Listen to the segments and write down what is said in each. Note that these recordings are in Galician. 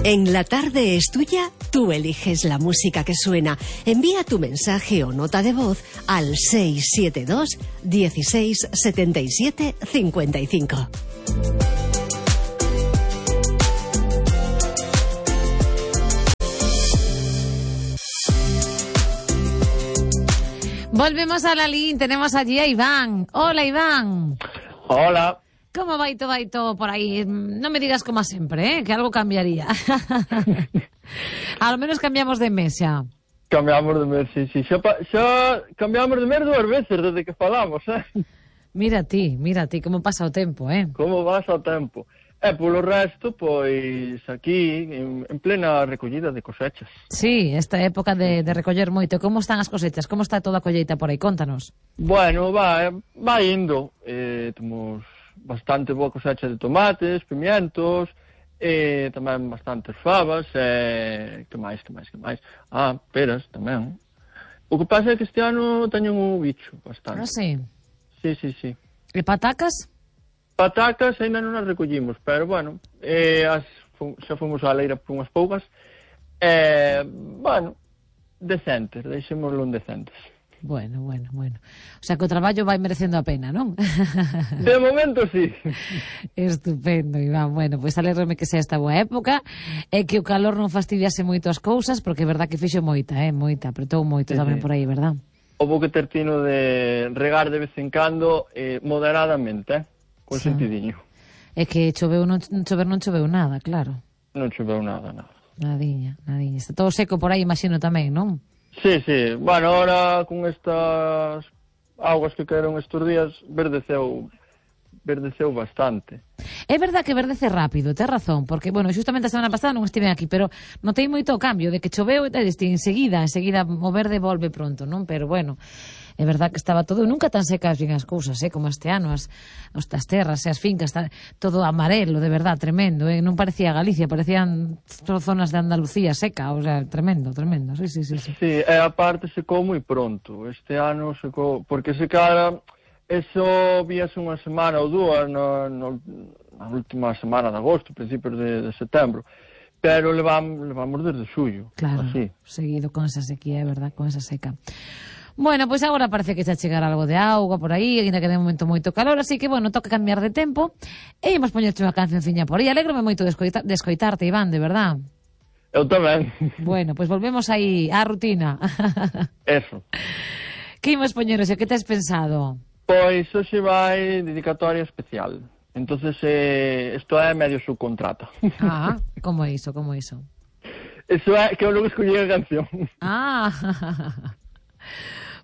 En La Tarde es Tuya, tú eliges la música que suena. Envía tu mensaje o nota de voz al 672 16 77 55. Volvemos a la línea, tenemos allí a Iván. Hola, Iván. Hola. ¿Cómo va todo por aí? Non me digas como sempre, que algo cambiaría. A lo menos cambiamos de mes xa. Cambiamos de mes, sí. Xa cambiamos de mes 2 veces desde que falamos, Mira ti, como pasa o tempo, Como pasa o tempo. E polo resto, pois, aquí, en plena recollida de cosechas. Sí, esta época de recoller moito. Como están as cosechas? Como está toda a colleita por aí? Contanos. Bueno, va indo. Temos bastante boa cosecha de tomates, pimientos, tamén bastantes favas, que máis? Peras tamén. O que pasa é que este ano teñen un bicho bastante. Ah, sí? Sí. E patacas? Patacas ainda non as recollimos, pero bueno, xa fomos á leira por unhas poucas, decentes, deixémoslo en decentes. Bueno. O sea, que o traballo vai merecendo a pena, non? De momento, sí. Estupendo, Iván. Bueno, pois alégrome que sea esta boa época e que o calor non fastidiase moito as cousas, porque é verdad que fixo moita, apretou moito tamén por aí, verdad? Houbo que ter tino de regar de vez en cando, moderadamente, con sentidiño. É que non choveu nada, claro. Non choveu nada. Nadiña. Está todo seco por aí, imagino tamén, non? Sí. Bueno, ahora con estas augas que caeron estes días, verdeceu bastante. É verdad que verdece rápido, tes razón, porque, bueno, justamente a semana pasada non estive aquí, pero notei moito o cambio, de que choveu enseguida o verde volve pronto, non? Pero, bueno, é verdad que estaba todo, nunca tan secas bien as cousas, como este ano, as terras e as fincas, todo amarelo, de verdad, tremendo, non parecía Galicia, parecían zonas de Andalucía seca, o sea, tremendo, sí. Sí, e aparte secou moi pronto, este ano secou, porque secara, eso víase unha semana ou dúas na última semana de agosto, principios de setembro, pero levamos desde xullo. Claro, así. Seguido con esa sequía, é verdad, con esa seca. Bueno, pois agora parece que xa chegará algo de auga por aí, ainda que de momento moito calor, así que, bueno, toca cambiar de tempo, e imos poñerte unha cancionciña por aí. Alégrome moito de escoitarte, Iván, de verdad. Eu tamén. Bueno, pois volvemos aí á rutina. Eso. Que imos poñer hoxe? Que tes pensado? Pois hoxe vai dedicatoria especial. Entonces, isto é medio subcontrata. Ah, como é iso? Eso é que eu logo escollí a canción. Ah,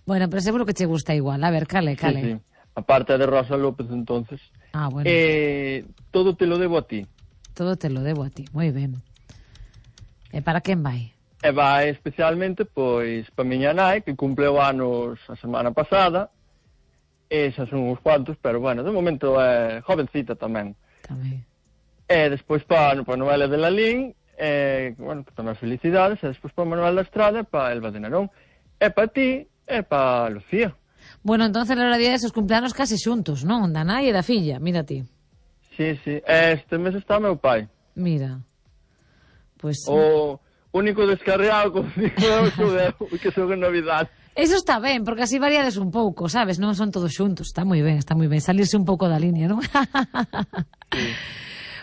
bueno, pero seguro que che gusta igual. A ver, cale. Sí. Aparte de Rosa López, entonces. Ah, bueno. Todo te lo debo a ti. Todo te lo debo a ti, moi ben. E para quen vai? E vai especialmente, pois, para miña nai, que cumpleu anos a semana pasada. Esas son uns cuantos, pero bueno, de momento é jovencita tamén. E despois para Noelia de Lalín, bueno, que tamén felicidades, e despois para Manuel da Estrada, e para Elba de Nerón, e para ti, e para Lucía. Bueno, entonces era día desos cumpleanos case xuntos, non? Da nai e da filla, mira ti. Sí. Este mes está meu pai. Mira. Pois... O único descarriado, como digo, que son en Navidad. Eso está ben, porque así variades un pouco, sabes? Non son todos xuntos, está moi ben, salirse un pouco da línea, non? Sí.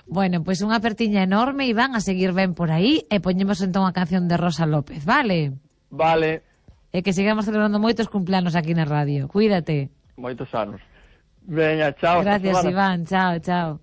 Bueno, pois unha apertiña enorme, Iván, a seguir ben por aí, e poñemos entón a canción de Rosa López, vale? Vale. E que sigamos celebrando moitos cumpleanos aquí na radio. Cuídate. Moitos anos. Veña, chao. Gracias, Iván, chao.